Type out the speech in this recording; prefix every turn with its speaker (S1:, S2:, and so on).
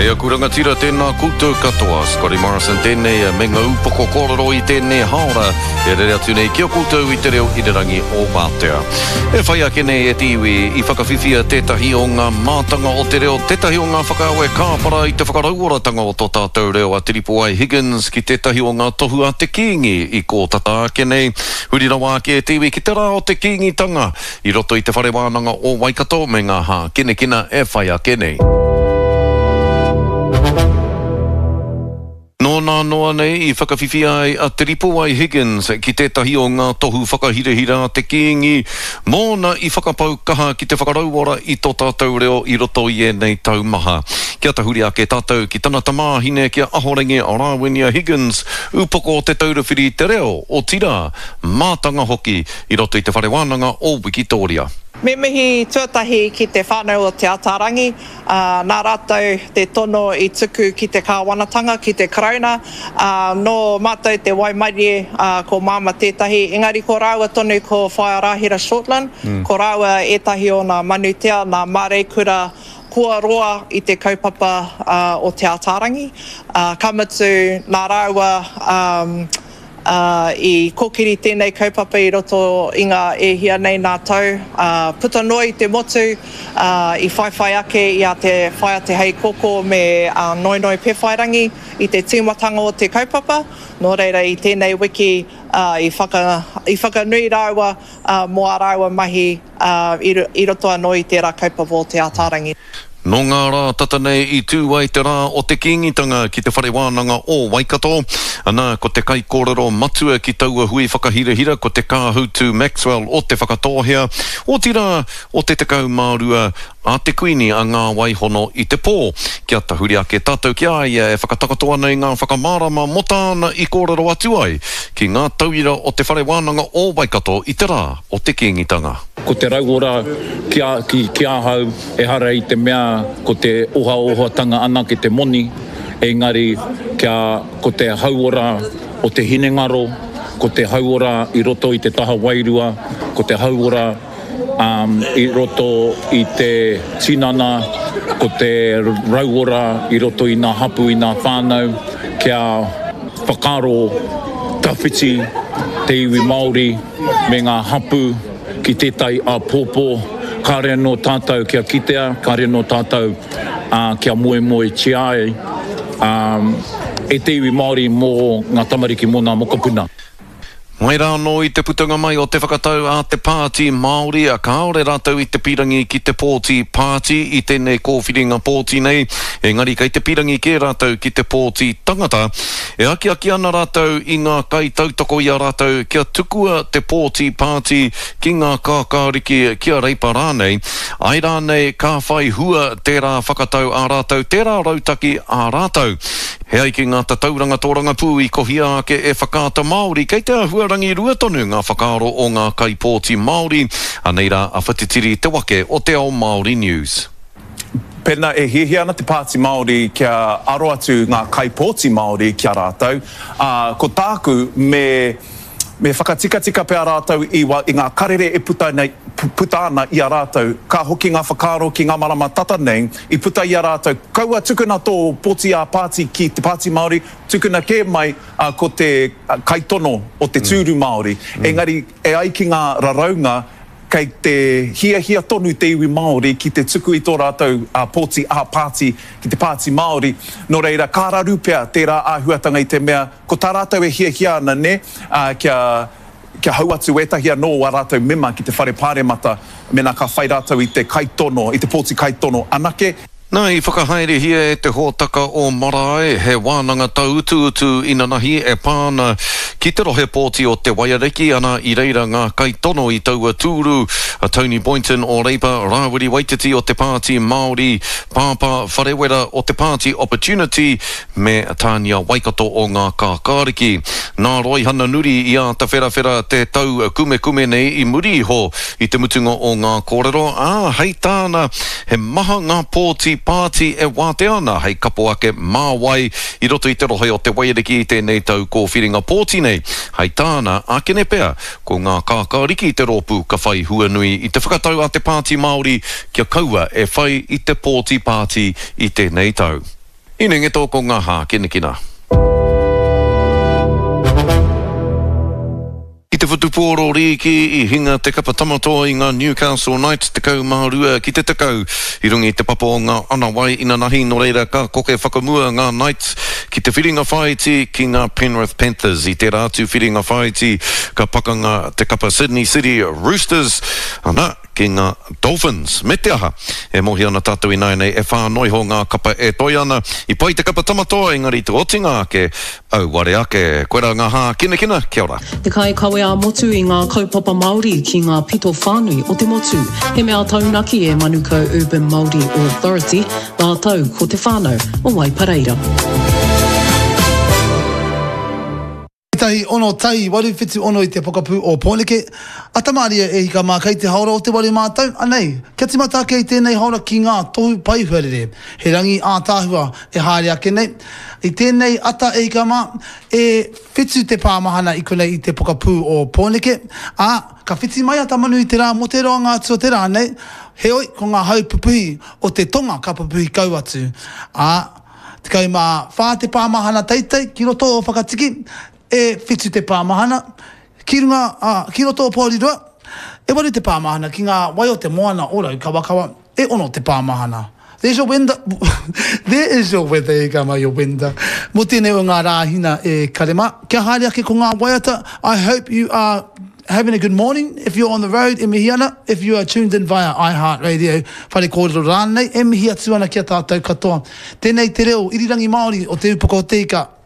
S1: E aku rangatira, tēnā koutou katoa. Scotty Morrison tēnei me ngā upoko kōrero i tēnei haora e rere atu nei ki a koutou i te reo irirangi o Wātea. E whai ake nei e te iwi i whakawhiwhia tētahi o ngā mātanga o te reo, tētahi o ngā whakaawe kāpara i te whakarauoratanga o tō tātou reo a Te Ripoai Higgins ki tētahi o ngā tohu a te Kīngi i kō tata ake nei. Huri rawa ake e te iwi ki te rā o te Kīngitanga I roto i te Whare Wānanga o Waikato me ngā hākinakina e whai ake nei. Nō nā noa nei i whakawhiwhia ai a Te Ripowai Higgins ki tētahi o ngā tohu whakahirahira a te Kīngi mōna i whakapau kaha ki te whakarauora i tō tātou reo i roto i ēnei tau maha. Kia tahuri ake tātou ki tana tamāhine ki a Ahorangi Rāwinia Higgins, upoko o Te Taura Whiri i te Reo, otirā, mātanga hoki i roto i te Whare Wānanga o Wikitōria.
S2: Me mihi tuatahi ki te whānau o Te Ataarangi, ā, nā rātou te tono i tuku ki te kāwanatanga, ki te Karauna, ā, nō mātou te waimarie, ā, ko Māma tētahi, engari ko rāua tonu ko Whaea Rāhira Shortland, ko rāua ētahi o nā manutea, nā māreikura kua roa i te kaupapa o Te Ataarangi, ā, ka mutu nā rāua, ā, Ā, i kōkiri tēnei kaupapa i roto i ngā e hia nei nā tau, ā, puta noa i te motu, ā, i whaiwhai ake i a Te Whaea Te Heikōkō me a Noenoe Pewhairangi i te tīmatanga o te kaupapa. Nō reira, i tēnei wiki, ā, i whaka, i whakanui rāua, ā, mō ā rāua mahi, ā, i, i roto anō i tērā kaupapa o Te Ataarangi.
S1: Nō ngā rā tata nei i tū ai te rā o te Kīngitanga ki te Whare Wānanga o Waikato. Ana, ko te kaikōrero matua ki taua hui whakahirahira ko Te Kāhutu Maxwell o Te Whakatōhea, otirā, o te 12 a te Kuini a Ngā Waihono i te pō. Kia tahuri ake tātou ki a ia e whakatakoto ana i ngā whakamārama mō tāna i kōrero atu ai ki ngā tauira o Te Whare Wānanga o Waikato i te rā o te Kīngitanga.
S3: Ko te rauora ki a, ki, ki ahau, ehara i te mea ko te ohaohatanga anake te moni, engari kia ko te hauora o te hinengaro, ko te hauora i roto i te taha wairua, ko te hauora um, i roto i te tinana, ko te rauora i roto i ngā hapu, i ngā whānau, kia whakaaro tawhiti te iwi Māori me ngā hapū ki tētahi āpōpō, kāre anō tātou kia kitea, kāre anō tātou kia moemoetia ai e te iwi Māori mō ngā tamariki, mō ngā mokopuna.
S1: Mai rā anō i te putanga mai o te whakatau a te Pāti Māori, kāore rātou i te pīrangi ki te pōti pāti i tēnei kōwhiringa pōti nei, engari kei te pīrangi kē rātou ki te pōti tangata. E akiaki ana rātou i ngā kaitautoko i a rātou kia tukua te pōti pāti ki ngā kākāriki, ki a Reipa rānei, āe rānei ka whai hua tērā whakatau ā rātou, tērā rautaki ā rātou. He ai ki ngā tatauranga tōrangapū i kohia ake e Whakaata Māori, kei te āhua rangirua tonu ngā whakaaro o ngā kaipōti Māori. Anei rā a Whatitiri Te Wake o Te Ao Māori News.
S4: Pēnā e hiahia ana te Pāti Māori kia aro atu ngā kaipōti Māori ki a rātou, ā, ko tāku me, me whakatikatika pea rātou i, i ngā karere e puta nei, puta ana i a rātou. Ka hoki ngā whakaaro ki ngā marama tata nei, i puta i a rātou, kaua tukuna tō pōti ā-pāti ki te Pāti Māori, tukuna kē mai ko te kaitono o te tūru Māori. Engari, e ai ki ngā raraunga, kei te hiahia tonu te iwi Māori ki te tuku i tō rātou pōti ā-pāti ki te Pāti Māori. Nō reira, ka raru pea tērā āhuatanga i te mea, ko tā rātou e hiahia ana, nē, kia, kia hau atu ētahi anō o ā rātou mema ki te Whare Pāremata mēnā ka whai rātou i te kaitono, i te pōti kaitono anake.
S1: Nā, i whakahaerehia e te hōtaka o Marae he wānanga tauutuutu inanahi e pā ana ki te rohe pōti o Te Waiariki, ana i reira ngā kaitono i taua tūru, a Tony Boynton o Reipa, Rāwiri Waititi o te Pāti Māori, Pāpā Wharewera o te Pāti Opportunity, me Tānia Waikato o Ngā Kākāriki. Nā Roihana Nuri i āta wherawhera te tau kumekume nei i muri iho i te mutunga o ngā kōrero, ā, hei tāna, he maha ngā pōti pāti e wātea ana hei kapo ake mā wai i roto i te rohe o Te Waiariki i tēnei tau kōwhiringa pōti nei. Hei tāna, ākene pea, ko Ngā Kākāriki te rōpū ka whai hua nui i te whakatau a te Pāti Māori kia kaua e whai i te pōti pāti i tēnei tau. Hinengeto ko ngā hākinakina. I te whutupōro rīki i hinga te kapa Tamatoa i ngā Newcastle Knights 12 ki te 10 i runga i te papa o ngā anawai inanahi nō reira ka koke whakamua ngā Knights ki te whiringa whāiti ki ngā Penrith Panthers. I tērā atu whiringa whāiti ka pakanga te kapa Sydney City Roosters, ana, ki ngā Dolphins. Me te aha, e mōhio ana tātou ināianei e whā noa iho ngā kapa e toe ana. I pai te kapa Tamatoa engari te otinga ake, auare ake. Koirā ngā hākinakina, kia ora.
S5: Te kaikawe ā-motu i ngā kaupapa Māori ki ngā pito whānui o te motu. He mea taunaki e Manukau Urban Māori Authority rātou ko te whānau o Waipareira.
S6: 1, 6, 1, 8, 7, 6 i te pokapū o Pōneke. Ata mārie e hika mā kei te haora o te waru mātou, anei, kia timata ake i tēnei haora ki ngā tohu pai huarere. He rangi ātaahua e haere ake nei. I tēnei ata e hika mā, e whitu te pāmahana i konei i te pokapū o Pōneke, ā, ka whiti mai a Tamanui-te-rā mō te roanga atu o te rā nei, heoi, ko ngā hau pupuhi o te tonga ka pupuhi kau atu, ā, 14 te pāmahana teitei ki roto o Whakatiki, e whitu te pāmahana ki runga, ā, ki roto o Porirua, e waru te pāmahana ki ngā wai o te moana o Raukawakawa, e ono te pāmahana. There's your wenda, there is your weather e ka mai your wenda. Mō tēnei o ngā Rāhina e kare mā, kia haere ake ko ngā waiata, I hope you are Having a good morning, if you're on the road e mihi ana, if you are tuned in via iHeartRadio, whare kōrero rānei, e mihi atu ana ki a tātou katoa. Tēnei te reo irirangi Māori o Te Upoko o Te Ika.